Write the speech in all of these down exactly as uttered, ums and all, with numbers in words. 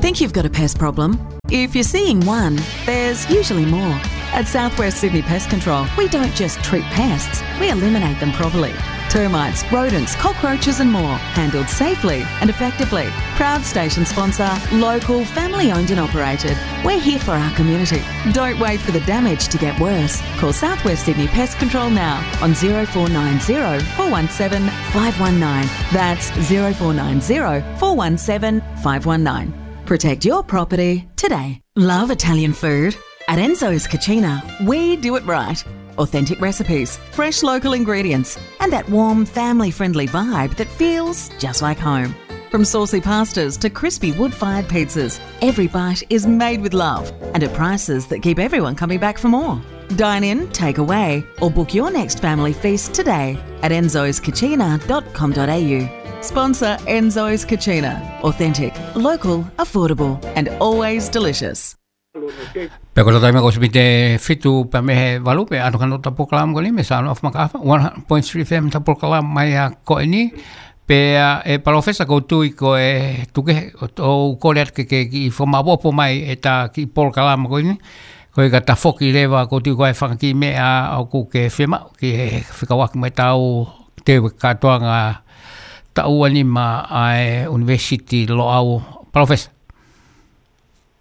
Think you've got a pest problem? If you're seeing one, there's usually more. At South West Sydney Pest Control, we don't just treat pests, we eliminate them properly. Termites, rodents, cockroaches and more, handled safely and effectively. Proud station sponsor, local, family owned and operated. We're here for our community. Don't wait for the damage to get worse. Call South West Sydney Pest Control now on zero four nine zero four one seven five one nine. That's zero four nine zero four one seven five one nine. Protect your property today. Love Italian food? At Enzo's Cucina, we do it right. Authentic recipes, fresh local ingredients, and that warm, family friendly vibe that feels just like home. From saucy pastas to crispy wood fired pizzas, every bite is made with love and at prices that keep everyone coming back for more. Dine in, take away, or book your next family feast today at enzoscucina.com.au. Sponsor Enzo's Cucina. Authentic, local, affordable, and always delicious. Pea ko e taimi ko e miniti ʻe fitu pea mei he valu pea ʻalu ki he nofo ʻo e polokalama ko eni mei he Sound of Makafa, one hundred point three F M ʻo e polokalama mai ʻa ko eni. Pea ʻe Palōfesa ʻoku ou tui ko e tuku ē ʻo, ʻo kole atu ke, ke kiʻi fakamaʻopoʻopo mai ʻeta kiʻi polokalama ko eni. Ko e ka tafoki leva ʻoku ou tui ko e fanga kiʻi meʻa ʻoku ke fiemaʻu ke fekauʻaki mo ʻetau teu kātoanga taʻu ua nima ʻa e ʻUnivēsiti Loʻau, Palōfesa.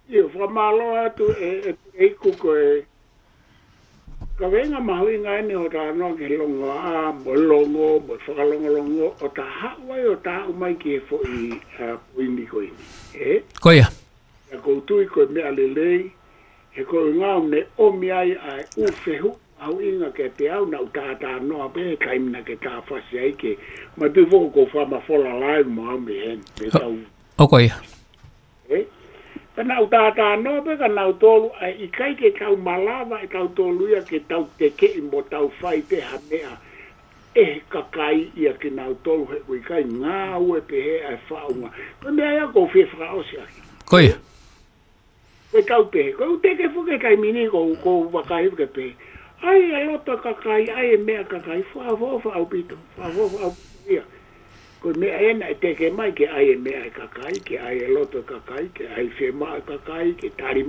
ʻIo, fakamālō atu ʻe, ʻe, ʻe iku ko e kaveinga mahuʻinga eni ʻo e talanoa ki he longoaʻa, mo e longo, mo e fakalongolongo, ʻo ta haʻu ai ʻo ta aʻu mai ki he foʻi, ʻa, poini ko eni. Ē? Ko ia. ʻA ia ʻoku ou tui ko e meʻa lelei, he ko e ngāue ne ʻomi ai ʻa e ʻū fehuʻi mahuʻinga kiate au naʻa ku talanoa pē he taimi naʻa ke tafasi ai ke. Ma tui foki ʻoku ou fakamafola live mo au mei heni, mei tau. ʻO ko ia. Ē? Ka naʻa ku talanoa pē kia nautolu, ʻa e ʻikai ke tau malava ʻe tautolu ia ke tau tekeʻi mo tau fai pē ha meʻa ʻe he kakai ia kia nautolu he ʻoku ʻikai ngāue pehē ʻa e faʻunga. Ko e meʻa ia ʻoku ou fie fakaʻosi ʻaki. Ko ia. Ko e tau pehē, ko e ʻū teke foki he taimi ni ʻoku ou, ʻoku ou vakai ke pehē. ʻAi e loto e kakai, ʻai e meʻa e kakai, fakaʻofoʻofa ʻaupito, fakaʻofoʻofa ʻaupito ia. Ko e meʻa ena ʻe teke mai ke ʻai e meʻa e kakai, ke ʻai e loto e kakai, ke ʻai e fiemaʻu e kakai, ke tali,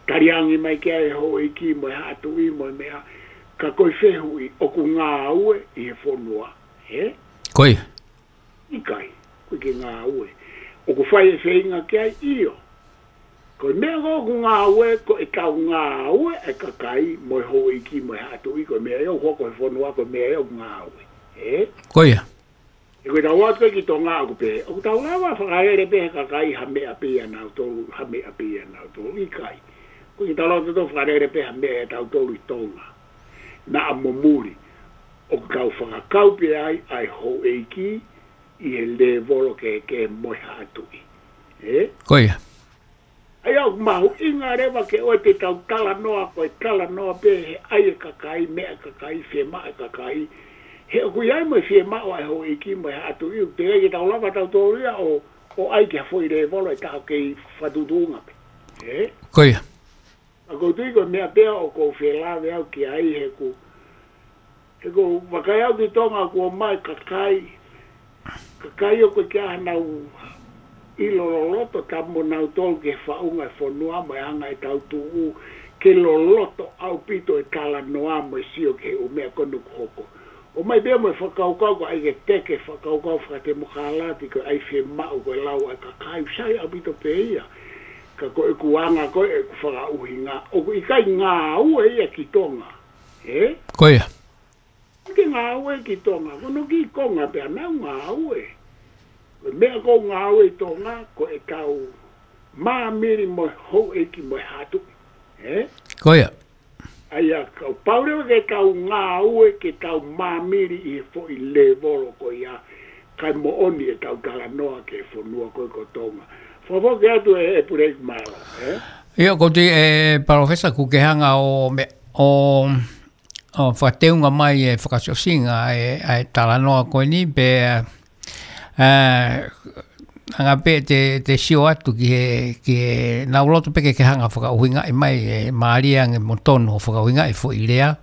tali ange mai ke ʻai e houʻeiki mo e haʻa tuʻi mo e meʻa, ka ko e fehuʻi ʻoku ngāue ʻi he fonua, ē? Ko ia. ʻIkai, ʻoku ʻikai ke ngāue. ʻOku fai e feinga ki ai, ʻio. Ko e meʻa ko ē ʻoku ngāue, ko e tau ngāue e kakai mo e houʻeiki mo e haʻa tuʻi, ko e meʻa ia ʻoku hoko he fonua, ko e meʻa ia ʻoku ngāue. Ē? Ko ia. ʻE ko e tau atu ki Tonga ʻoku pehē, ʻoku tau lava fakalele pē he kakai ha meʻa pē ia nautolu, ha meʻa pē ia nautolu, ʻikai. ʻOku ʻikai ke tau lava tautolu fakalele pē ha meʻa ia tautolu ʻi Tonga. Naʻa mo muli, ʻoku tau fakakau pē ai ʻa e houʻeiki ʻi he lēvolo kehekehe mo e haʻa tuʻi. Ē? Ko ia. ʻA ia ʻoku mahuʻinga leva ke ʻoua te tau talanoa, ko e talanoa pē he ʻai e kakai, meʻa e kakai, fiemaʻu e kakai. He ʻoku ʻi ai mo e fiemaʻu ʻa e houʻeiki mo e haʻa tuʻi, ʻoku teʻeki ke tau lava tautolu ia ʻo, ʻo ʻai ki ha foʻi lēvolo ʻe taha ʻoku kei fakatuʻutuʻunga pē. Ē? Ko ia. Ka ʻoku ou tui ko e meʻa pē ia ʻoku ou fie lave au ki ai he ʻoku, he ʻoku ou vakai au ki Tonga kuo ʻomai kakai, kakai ʻoku ʻikai ke ʻi ai hanau ʻilo loloto, ka mo nautolu ki he faʻunga e fonua mo e anga e tau tuʻu, ke loloto ʻaupito e talanoa mo e sio ki he ʻū meʻa ko eni ʻoku hoko. ʻOmai pē ia mo e fakakaukau ko e ʻai ke teke fakakaukau fakatemokalati ko e ʻai fiemaʻu ko e lau ʻa e kakai, ʻoku sai ʻaupito pē ia. Ka ko ʻeku anga ko ē ʻeku fakaʻuhinga, ʻoku ʻikai ngāue ia ki Tonga. Ē? Ko ia. ʻIkai ke ngāue ki Tonga, ko hono kiʻi konga pē ʻoku nau ngāue. Ko e meʻa ʻoku ngāue ʻi Tonga, ko e tau māmili mo e houʻeiki mo e haʻa tuʻi. Ē? Ko ia. ʻA ia, kapau leva ke tau ngāue, ke tau māmili ʻi he foʻi lēvolo ko ia, kae moʻoni ʻetau talanoa ki he fonua ko ē ko Tonga. Fakafoki atu ʻe, ʻe Pulei, mālō, ē? ʻIo, ʻoku ou tui ʻe Palōfesa ʻoku ke hanga ʻo me-, ʻo, ʻo fakateunga mai e fakaʻosiʻosinga e, e talanoa ko eni, pea, ē, anga pē te, te sio atu ki he, ki he, naʻa ku loto pē ke ke hanga fakaʻuhingaʻi mai e mālie ange mo tonu ʻo fakaʻuhingaʻi e foʻi lea.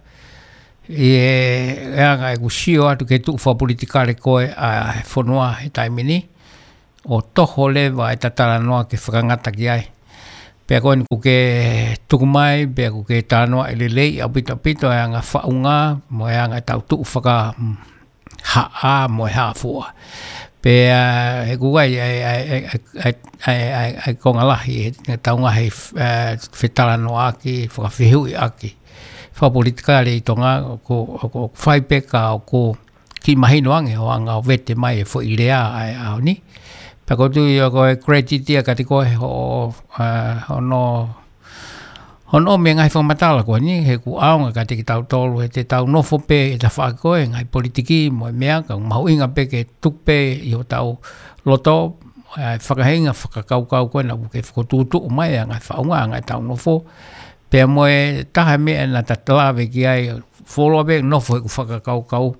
ʻI he, ʻe anga ʻeku sio atu ki he tuʻu fakapolitikale ko ē ʻa e fonua he taimi ni. ʻo toho leva ʻeta talanoa ke fakangata ki ai. Pea ko eni ʻoku ke tuku mai, pea ʻoku ke talanoaʻi lelei ʻaupito ʻaupito e anga faʻunga, mo e anga ʻetau tuʻu faka, mm, haʻa, mo e haʻa fua. Pea, ʻe kuai, ʻai, ʻai, ʻai, ʻai, ʻai, ʻai, ʻai, konga lahi, ʻe, ʻe taunga he, ʻe, fetalanoaʻaki, fakafehuʻiʻaki. Fakapolitikale ʻi Tonga, ʻoku, ʻoku, ʻoku fai pē ka ʻoku kiʻi mahino ange ʻo anga ʻo vete mai e foʻi lea ʻa e ʻaho ni. Pea ʻoku ou tui ʻoku ʻi ai e credit ia kiate koe hoʻo, ʻa, hono, hono ʻomi e ngaahi fakamatala ko eni, he ʻoku ʻaonga kiate kitautolu, he te tau nofo pē ʻi he tafaʻaki ko ē, ngaahi politiki, mo e meʻa, ka ʻoku mahuʻinga pē ke tuku pē ʻi hotau loto, ʻa e fakaheinga fakakaukau ko ē naʻa ke fokotuʻutuʻu mai, ʻa e ngaahi faʻunga, ʻa e ngaahi tau nofo. Pea mo e taha e meʻa naʻa ta lave ki ai, fuoloa pē nofo he ʻoku fakakaukau.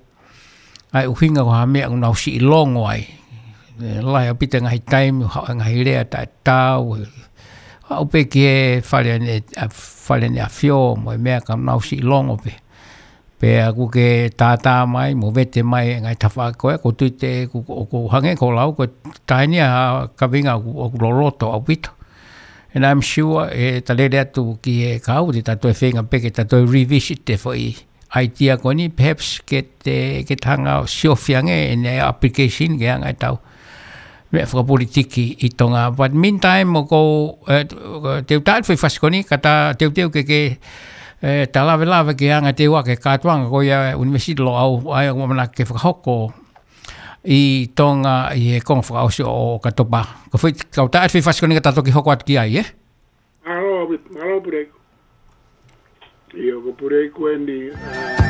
ʻA e ʻuhinga ko ha meʻa ʻoku nau siʻi longo ai. ʻE, lahi ʻaupito e ngaahi taimi, haʻu e ngaahi lea taʻetaau, ʻe, haʻu pē ki he Fale ʻAne, ʻa, Fale ʻAneafió, mo e meʻa ka nau siʻi longo pē. Pea ʻoku ke tātā mai, mo vete mai e ngaahi tafaʻaki ko ē, ʻoku ou tui te, ʻoku, ʻoku hangē ko e lau, ko e taha eni ʻa e kaveinga ʻoku, ʻoku loloto ʻaupito. And I'm sure, ʻe, ta lele atu ki he kau, te ta toe feinga pē ke ta toe revisit e foʻi idea ko eni, perhaps ke te, ke ta hanga ʻo siofi ange ʻene application ki he anga ʻetau meʻa fakapolitiki ʻi Tonga. But meantime, ʻoku ou, ʻe, te u tā atu e foʻi fasi ko eni, ka ta teuteu ke, ke, ʻe, ta lavelave ki he anga ʻetau ʻai ke kātoanga ko ia University Loʻau, ʻa ia ʻoku ou ʻamanaki ke fakahoko ʻi Tonga ʻi he konga fakaʻosi ʻo ʻOkatopa. Ko e foʻi, ka u tā atu e foʻi fasi ko eni ka ta toki hoko atu ki ai, ē? Mālō, mālō Puleiku. ʻIo, ko Puleiku eni, ʻa,